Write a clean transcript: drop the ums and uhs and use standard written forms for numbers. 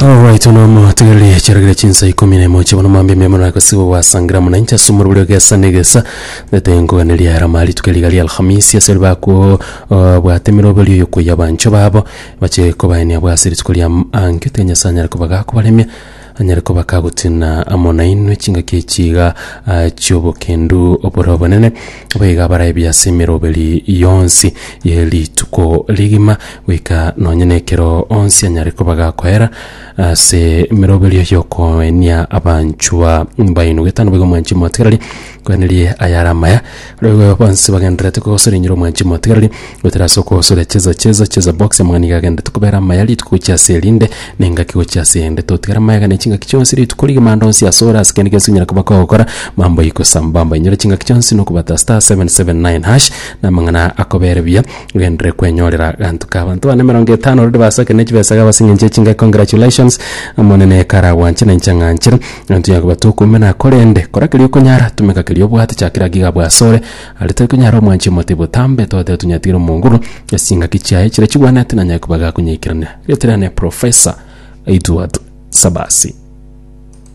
Alright, nomo tegereria chiaragere chinsa ikomi na emo chibono mambia mia mono gose gwasangira muna inche ase omorobori ogesa na egesa ndete nkoganeria erama rituko riga ria Alhamisi ase ribakwo uh, bwate emeroberi oyo koyia abanchwa babo bache kobaenia abwo ase rituko ria ankio tiga Nyasae anyare koba gakobaremia anyare koba kagotina amo nainwe chingaki echi iga ah, chiobokendu obore obonene Boigo abaraibie ase emeroberi yonsi ye rituko rigima, goika nonya nekero onsi anyare koba gakoera ase emeroberio y'okoenia abanchwa baino. Getano boigo omwanchi omotigareri, koenerie ayare amaya. Boigo bonsi bagendererete kogosora enyoro omwanchi omotigareri, goetera ase okogosora cheza cheza cheza box amang'ana nigo agendererete kobera amaya rituko gochia ase erinde, na engaki gochia ase eyende. Totigara mayega ne chingaki chionsi rituko rigima ande onsi ase ore ase kende gionsi onyare koba kogokora, mambo iko sambamba. Inyora chingaki chionsi nokobata star 779 hash, na amang'ana akobere buya, ogenderere kwenyorera ganto ka abanto bane emerongo etano already basakire ne chibesa iga ase eng'encho ye chingaki congratulations, Omonene karagwanche na inche ang'anchere, egento yakoba tokoumena korende kora keria okonyara, tumeka keria obwate chakera ake iga abwo asore, aria tari konyara omwanchi omote botambe togoteba tonyatigere omonguru, ase chingaki chiaye chiria chigwanete nanyare koba gakonyaikeraneria. Rieta riane Professor Edward Sabasi.